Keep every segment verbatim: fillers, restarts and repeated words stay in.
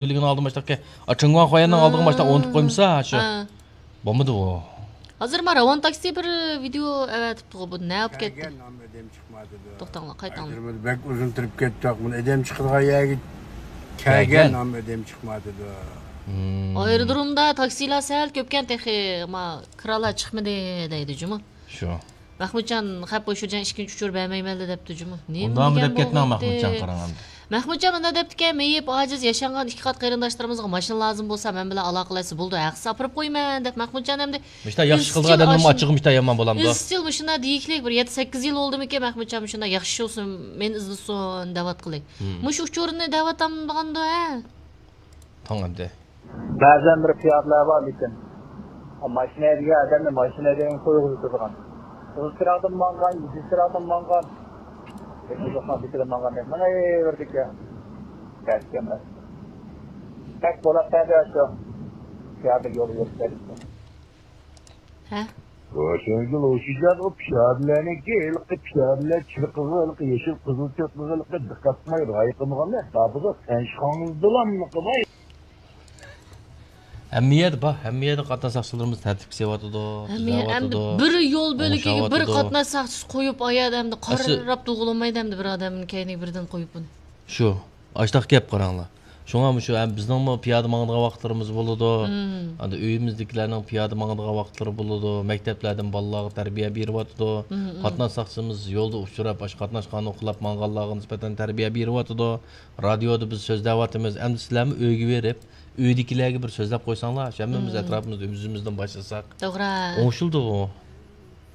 ئۆلگەن ئالدىن باشلاپ كە-، ئا، چىڭگۇاڭ خۇايەننىڭ ئالدىغا باشلاپ ئۇنتۇپ قويمىسا، شۇ. ھە. بولمىدى ئۇ. ھازىر ما راۋان تاكسى بىر ۋىدېئو ئەۋەتىپتىغۇ، بۇ نە بولۇپ كەتتى؟ كەلگەن ئامما دەم چىقمايدۇ. توختاڭلار، قايتاڭلار. ئايرودرومدا بەك ئۇزۇن تۇرۇپ كەتتۇق. بۇنى ئادەم چىقىدىغان يەرگە كەلگەن. كەلگەن ئامما ئادەم چىقمايدۇ. مم. ئايرودرومدا تاكسىلار سەل كۆپكەن تېخى، ما، كىرالار چىقمىدى دەيدۇ جۇمۇ. شۇ. مەخمۇتجان خەپ بوشۇرجان ئىككىنچى ئۇچۇر بەرمەيمەن دەپتۇ جۇمۇ. نېمە ئۇنداقمۇ دېگەن دەپ كەتمەڭ بولغۇيتتى؟ مەخمۇتجان، قاراڭ ئەمدى. مەخمۇتجان مۇنداق دەپتىكەن، مېيىپ ئاجىز ياشانغان ئىككى قات قېرىنداشلىرىمىزغا ماشىنا لازىم بولسا، مەن بىلەن ئالاقىلەشسە بولىدۇ، ھەقسىز ئاپىرىپ قويىمەن دەپ مەخمۇتجان ئەمدى مۇشۇنداق ياخشى ئىش قىلىدىغان ئىزچىل ئادەمنىڭ ئاشۇ-، ئاچچىقى مۇشۇنداق يامان بولامدۇ؟ ئىزچىل مۇشۇنداق دېيىكلىك بىر يەتتە سەككىز يىل بولدىمىكىن مەخمۇتجان مۇشۇنداق ياخشى بولسۇن، مېنى ئىزدىسۇن دەۋاتقىلى. مم. مۇشۇ ئۇچۇرنى دەۋاتامدىغاندۇ، ھە؟ تاڭ ئەمدى. بەزەن بىر پىيادىلەر بار لېكىن، ماشىنا ھەيدىگەن ئادەمنى ماشىنا ھەيدىگەنگە قويغۇزۇپ تۇرىدىغان. قىزىل چىراغدىن ماڭغان، يېشىل چىراغدىن ماڭغان، يېشىل چىراغدىن ماڭغان دەپ مېڭىۋېرىدىكەن. تەس ئىكەن. بەك بولۇپ بەردى شۇ. پىيادە يولى يۈرۈپ بەردى. ھە؟ روشەنگۈل ئوشۇجان ئۇ پىيادىلەرنىڭكى ھېلىقى پىيادىلەر چىرقىغىلىقى، يېشىل قىزىل چىرقىغىلىقى دىققەت قىلماي رايى قىلمىغانلار دابىزا تەنشىخاڭىزدىلا نېمە قىلماي. ھەممە يەردە بار، ھەممە يەردە قاتناش ساقچىلىرىمىز تەرتىپكە سېلىۋاتىدۇ، ھەممە يەر، ئەمدى تۈزەۋاتىدۇ، بىر يول بۆلىكىگە بىر ئوڭشاۋاتىدۇ. قاتناش ساقچىسى قويۇپ، ئايەردە ئەمدى ئەسلى قاراپ تۇرغىلى بولمايدۇ، ئەمدى بىر ئادەمنىڭ كەينىگە بىردىن قويۇپ بۇنى. شۇ. ئاشتاق گەپ قاراڭلار. شۇڭا مۇشۇ ھەم بىزنىڭمۇ پىيادە ماڭىدىغان ۋاقىتلىرىمىز بولىدۇ. مم. ئەمدى ئۆيىمىزدىكىلەرنىڭ پىيادە ماڭىدىغان ۋاقىتلىرى بولىدۇ. مەكتەپلەردىن بالىلارغا تەربىيە بېرىۋاتىدۇ. مم، مم. قاتناش ساقچىمىز يولدا ئۇچراپ، ئاشۇ قاتناش قانۇنى خىلاپ ماڭغانلارغا نىسبەتەن تەربىيە بېرىۋاتىدۇ. رادىيودا بىز سۆزلەۋاتىمىز. ئەمدى سىلەرمۇ ئۆيگە بېرىپ، ئۆيدىكىلەرگە بىر سۆزلەپ قويساڭلار، ھەممىمىز مم. ئەتراپىمىزدا ئۆزىمىزدىن باشلىساق. توغرا. ئوڭشىلىدۇ ئۇ.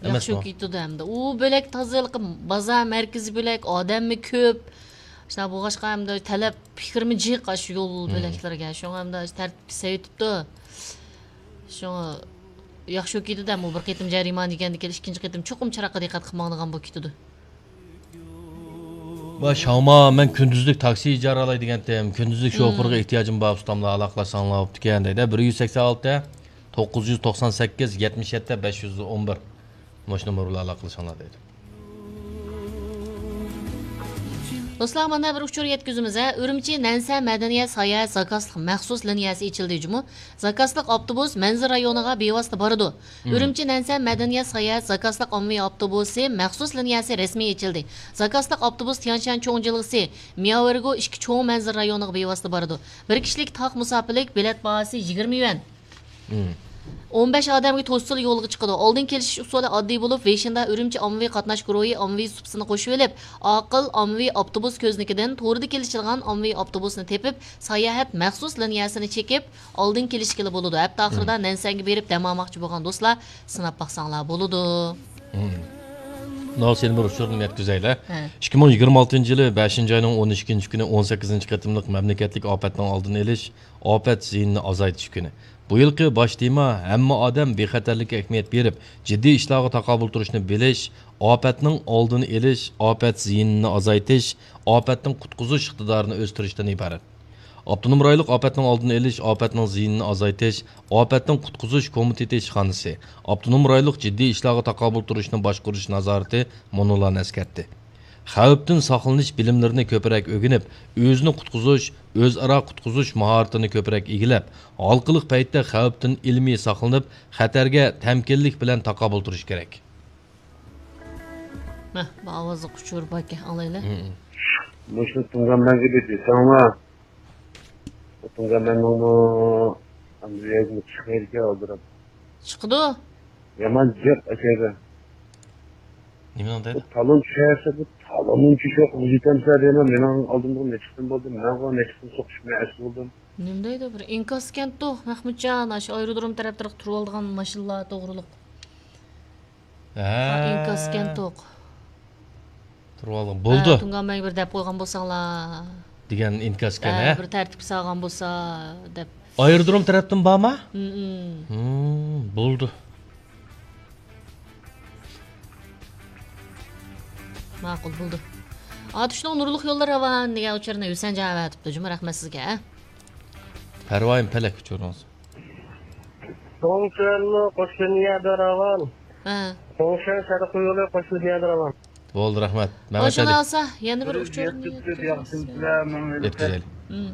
ياخشى ئەمەسمۇ؟ كېتىدۇ ئەمدى. ئۇ بۆلەك تازىلىقى، بازار مەركىزى بۆلەك، ئادەممۇ كۆپ. شۇنداق بولغاچقا ئەمدى تەلەپ پىكرىمۇ جىق ئاشۇ يول مم. بۆلەكلىرىگە. شۇڭا ئەمدى تەرتىپكە سېلىۋېتىپتۇ. شۇڭا ياخشى كېتىدۇ ئەمدى. بۇ بىر قېتىم جەرىمانە يېگەندىن كېيىن ئىككىنچى قېتىم چوقۇم چىراغقا دىققەت قىلىپ ماڭىدىغان بولۇپ كېتىدۇ. ۋاي شاڭما، مەن كۈندۈزلۈك تاكسى ئىجارە ئالاي دېگەنتىم. كۈندۈزلۈك مم. شوپۇرغا ئېھتىياجىم بار، ئۇستاملار ئالاقىلاشساڭلار بوپتىكەن دەيدۇ. بىر يۈز سەكسەن ئالتە، توققۇز يۈز توقسان سەككىز، يەتمىش يەتتە، بەش يۈز ئون بىر. مۇشۇ نومۇر بىلەن ئالاقىلىشىڭلار دەيدۇ. دوستلار، مانا بىر ئۇچۇر يەتكۈزىمىز، ھە. ئۈرۈمچى نەنسە مەدەنىيەت ساياھەت زاكازلىق مەخسۇس لىنىيەسى ئېچىلدى جۇمۇ. زاكازلىق ئاپتوبۇس مەنزىرە رايونىغا بىۋاسىتە بارىدۇ. مم. ئۈرۈمچى نەنسە مەدەنىيەت ساياھەت زاكازلىق ئاممىۋى ئاپتوبۇسى مەخسۇس لىنىيەسى رەسمىي ئېچىلدى. زاكازلىق ئاپتوبۇس تيانشان چوڭ جىلغىسى، مياۋېرگو ئىككى چوڭ مەنزىرە رايونىغا بىۋاسىتە بارىدۇ. بىر كىشىلىك تاق مۇساپىلىك، بېلەت باھاسى يىگىرمە يۈەن. مم. ئون بەش ئادەمگە توشسىلا يولغا چىقىدۇ. ئالدىن كېلىشىش ئۇسۇلى ئاددىي بولۇپ، ۋېيشىندا ئۈرۈمچى ئاممىۋى قاتناش گۇرۇھى ئاممىۋى سۇپىسىنى قوشۇۋېلىپ، ئاقىل ئاممىۋى ئاپتوبۇس كۆزنىكىدىن توردا كېلىشىدىغان ئاممىۋى ئاپتوبۇسنى تېپىپ، ساياھەت مەخسۇس لىنىيەسىنى چېكىپ، ئالدىن كېلىشكىلى بولىدۇ. ھەپتە ئاخىرىدا مم. نەنسەنگە بېرىپ دەم ئالماقچى بولغان دوستلار سىناپ باقساڭلار بولىدۇ. مم. مۇنۇ سېنى بىر ئۇچۇردىن يەتكۈزەيلى. ھە. ئىككى مىڭ يىگىرمە ئالتىنچى يىلى بەشىنچى ئاينىڭ ئون ئىككىنچى كۈنى ئون سەككىزىنچى قېتىملىق مەملىكەتلىك ئاپەتنىڭ ئالدىنى ئېلىش، ئاپەت زىيىنىنى ئازايتىش كۈنى. بۇ يىلقى باش تېما ھەممە ئادەم بىخەتەرلىككە ئەھمىيەت بېرىپ، جىددىي ئىشلارغا تاقابىل تۇرۇشنى بىلىش، ئاپەتنىڭ ئالدىنى ئېلىش، ئاپەت زىيىنىنى ئازايتىش، ئاپەتتىن قۇتقۇزۇش ئىقتىدارىنى ئۆستۈرۈشتىن ئىبارەت. ئاپتونوم رايونلۇق ئاپەتنىڭ ئالدىنى ئېلىش، ئاپەتنىڭ زىيىنىنى ئازايتىش، ئاپەتتىن قۇتقۇزۇش كومىتېتى ئىشخانىسى، ئاپتونوم رايونلۇق جىددىي ئىشلارغا تاقابىل تۇرۇشنى باشقۇرۇش نازارىتى مۇنۇلارنى ئەسكەرتتى. خەۋپتىن ساقلىنىش بىلىملىرىنى كۆپرەك ئۆگىنىپ، ئۆزىنى قۇتقۇزۇش، ئۆزئارا قۇتقۇزۇش ماھارىتىنى كۆپرەك ئىگىلەپ، ھالقىلىق پەيتتە خەۋپتىن ئىلمىي ساقلىنىپ، خەتەرگە تەمكىنلىك بىلەن تاقابىل تۇرۇش كېرەك. مە، بۇ ئاۋازلىق ئۇچۇر باركەن، ئاڭلايلى. مم. مۇشۇ تۇڭگانمەنگە بىر دېسەڭلار. تۇڭگانمەننىڭمۇ ئەمدى يەرگىمۇ چىقمايدىكەن ئالدىراپ. چىقىدۇ. يامان جىق ئەكەيدە. نېمىنىڭ بۇ دەيدۇ؟ تالون چۈشەرسە، بۇ تالوننىڭ چۈشى يوق. يېتەمسە دەيمەن، مېنىڭ ئالدىمدا نەچچە قېتىم بولدى. مەنغۇ نەچچە قېتىم سوقۇشۇپ، مەن ئەسلى بولدۇم. نېمە دەيدۇ؟ بىر ئىنكاس ئىكەنتۇ، مەخمۇتجان، ئاشۇ ئايرودروم تەرەپلىرىگە تۇرۇۋالىدىغان ماشىنىلار توغرۇلۇق. ھە. ئىنكاس ئىكەنتۇق. تۇرۇۋالغان. بولدى. ھە، تۇڭگانمەنگە بىر دەپ قويغان بولساڭلار. دېگەن ئىنكاس ئىكەن، ھە، ھە؟ بىر تەرتىپكە سالغان بولسا دەپ. ئايرودروم تەرەپتىن بارما؟ ھىم، ھىم. ھىم، بولدى. ماقۇل، بولدى. ئاتۇشنىڭ نۇرلۇق يوللىرى راۋان دېگەن ئۇچۇرنى ھۈسەنجان ئەۋەتىپتۇ جۇمۇ، رەھمەت سىزگە. پەرۋايىم پەلەك ئۇچۇرىڭىز. توڭشۈەنمۇ قوشۇن يەردە راۋان. ھە. توڭشۈەن شەرقىي يولى قوشۇن يەردە راۋان. بولدى، رەھمەت. مەمەت ئەلى. ئالسا، يەنە بىر ئۇچۇرنى يەتكۈزەيلى. ھىم.